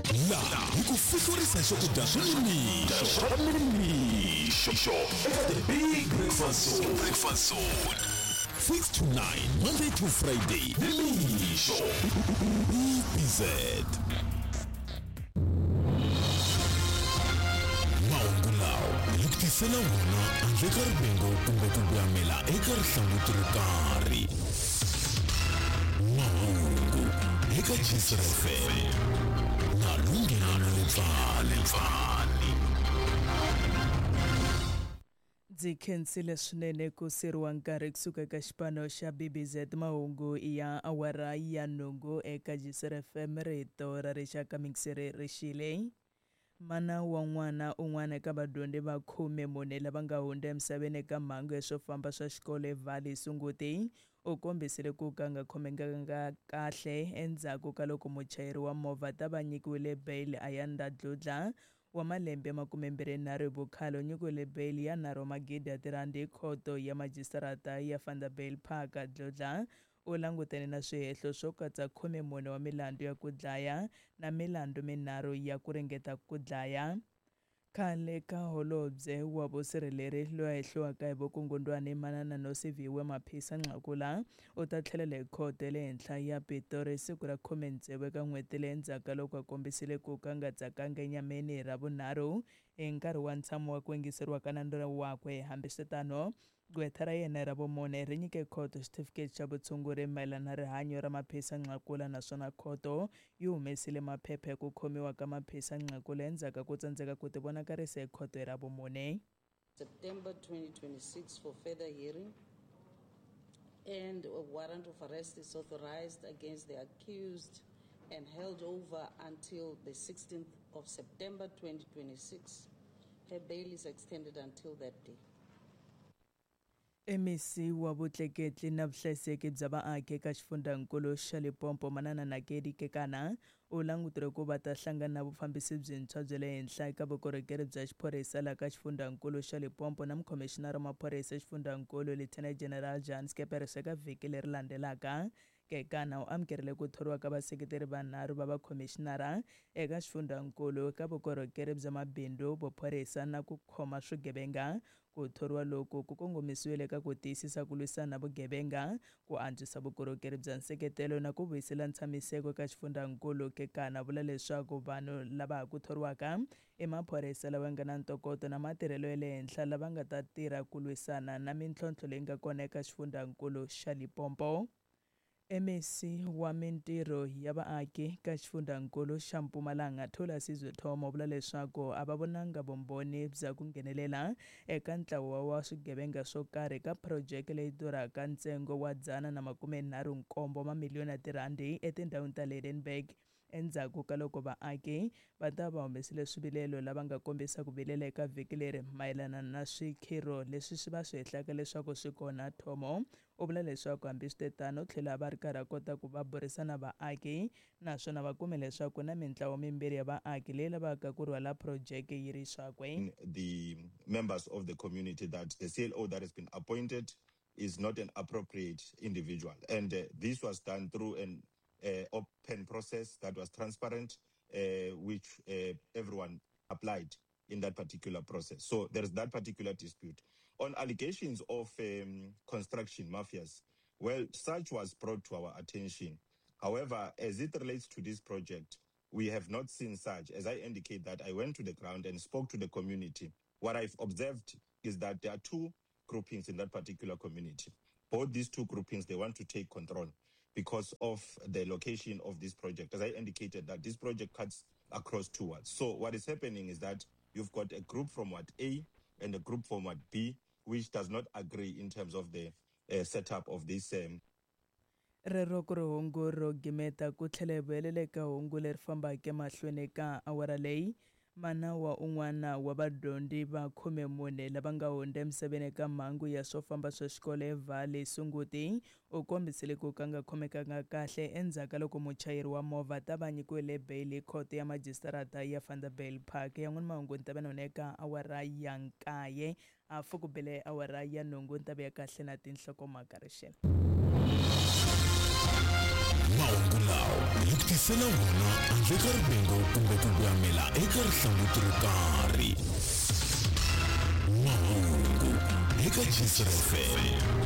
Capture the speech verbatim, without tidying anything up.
Laha hi ku fihlurisa swakudya swa nimixo swa nimixo eka The Big Breakfast Zone. Breakfast Zone six to nine, Monday to Friday, nimixo B B Z. Mahungu lawa hi ku tisela wona handle ka rivengo kumbe ku gwamela eka rihlanguti ro karhi. Mahungu eka Jisr F M na Lunghelo Lepfani. Ndzi khensile swinene ku siriwa nkarhi kusuka eka xipano xa B B Z. Mahungu ya awara ya nhungu eka Jisr F M, rito ra rixaka. Mixere rixile. Mana wa n'wana un'wana eka vadyondzi va khume mune lava nga hundza emisaveni eka mhangu ya swo famba swa xikolo eValley Sunguti u kombisile ku ka nga khomekanga kahle endzhaku ka loko muchayeri wa movha ta va nyikiwile bail. Ayanda Dludla wa malembe makumembirhi nharhu hi vukhale u nyikiwile bail ya nharhu wa magidi ya tirhandi hi khoto ya majistarata ya Vanderbijlpark. Dludla u langutene na swihehlo swo katsa khume mune wa milandzu ya ku dlaya na milandzu minharhu ya ku ringeta ku dlaya. Khale ka holobye wa vusirheleri loyi a hehliwaka hi vukungundwani, Manana Nosiviwe Mapisa Nqakula, u ta tlhelela hi khoto ya le henhla ya Pitori siku ra khume tsevu eka n'hweti leyi endzhaku ka loko a kombisile ku ka nga tsakanga enyameni hi Ravunharhu hi nkarhi wa ntshamo wa ku yingiseriwa ka nandzu wakwe. Hambiswiritano, gqwetha ra yena ra vumune ri nyike khoto xitifiketi xa vutshunguri mayelana na rihanyo ra Mapisa Nqakula, naswona khoto yi humesile maphepha ya ku khomiwa ka Mapisa Nqakula endzhaku ka ku tsandzeka ku tivonakarisa hi khoto hi Ravumune. September twenty twenty-six for further hearing, and a warrant of arrest is authorized against the accused and held over until the sixteenth of September twenty twenty-six. Her bail is extended until that day. M E C wa vutleketli na vuhlayiseki bya vaaki eka xifundzankulu xa Limpopo, Manana Nakedi Kekana, u languteriwe ku va ta hlangana na vufambisi byintshwa bya le henhla eka vukorhokeri bya xiphorisa laha ka xifundzankulu xa Limpopo na mukhomixinara wa maphorisa exifundzankulu, Lieutenant General Jan Scheepers, eka vhiki leri landzelaka. Kekana u amukerile ku thoriwa ka vaseketeri vanharhu va vakhomixinara eka xifundzankulu eka vukorhokeri bya mabindzu, vuphorisa na ku khoma swigevenga. Ku thoriwa loku ku kongomisiwile eka ku tiyisisa ku lwisana na vugevenga, ku antswisa vukorhokeri bya nseketelo na ku vuyisela ntshamiseko eka xifundzankulu. Kekana vula leswaku vanhu lava ha ku thoriwaka i maphorisa lava nga na ntokoto na matirhelo ya le henhla lava nga ta tirha ku lwisana na mintlhontlho leyi nga kona eka xifundzankulu xa Limpopo. M E C wa mintirho ya vaaki ka xifundzankulu xa Mpumalanga, Thulasizwe Thomo, vula leswaku a va vonanga vumbhoni bya ku nghenelela eka ntlawa wa swigevenga swo karhi eka phurojeke leyi durhaka ntsengo wa dzana na makume nharhu nkombo mamiliyoni ya tirhandi etindhawini ta Lydenburg, endzhaku ka loko vaaki va ta va humesile swivilelo lava nga kombisa ku vilela eka vhiki leri mayelana na swikhiro leswi swi va swi hehlaka leswaku swi kona. Thomo u vula leswaku hambiswiritano u tlhela va ri karhi a kota ku va burisana vaaki, naswona va kume leswaku na mintlawa mimbirhi ya vaaki leyi lavaka ku rhwala phurojeke yi ri swakwe. The members of the community that the C L O that has been appointed is not an appropriate individual. And uh, this was done through an uh, open process that was transparent, uh, which uh, everyone applied in that particular process. So there is that particular dispute. On allegations of um, construction mafias, well, such was brought to our attention. However, as it relates to this project, we have not seen such. As I indicate that I went to the ground and spoke to the community, what I've observed is that there are two groupings in that particular community. Both these two groupings, they want to take control because of the location of this project. As I indicated that this project cuts across two wards. So what is happening is that you've got a group from Ward A and a group from Ward B, which does not agree in terms of the uh, setup of this um, Rero ku ri hungu ro gimeta ku tlhela hi vuyelela eka hungu leri fambaka emahlweni ka awara leyi. Mana wa un'wana wa vadyondzi va khume mune lava nga hundza emisaveni eka mhangu ya swo famba swa xikolo eValley Sunguti u kombisile ku ka nga khomekanga kahle endzhaku ka loko muchayeri wa movha ta va nyikiwile beyili hi khoto ya majistarata ya Vanderbijlpark. Yan'wana mahungu ni ta va na eka awara ya nkaye hafu ku bele awara ya nhungu. Ni ta vuya kahle na tinhlokomhaka rixela. Mahungu lawa hi ku tisela wona handle ka rivengo kumbe ku voyamela eka rihlanguti ro karhi. Mahungu eka Gcis F M.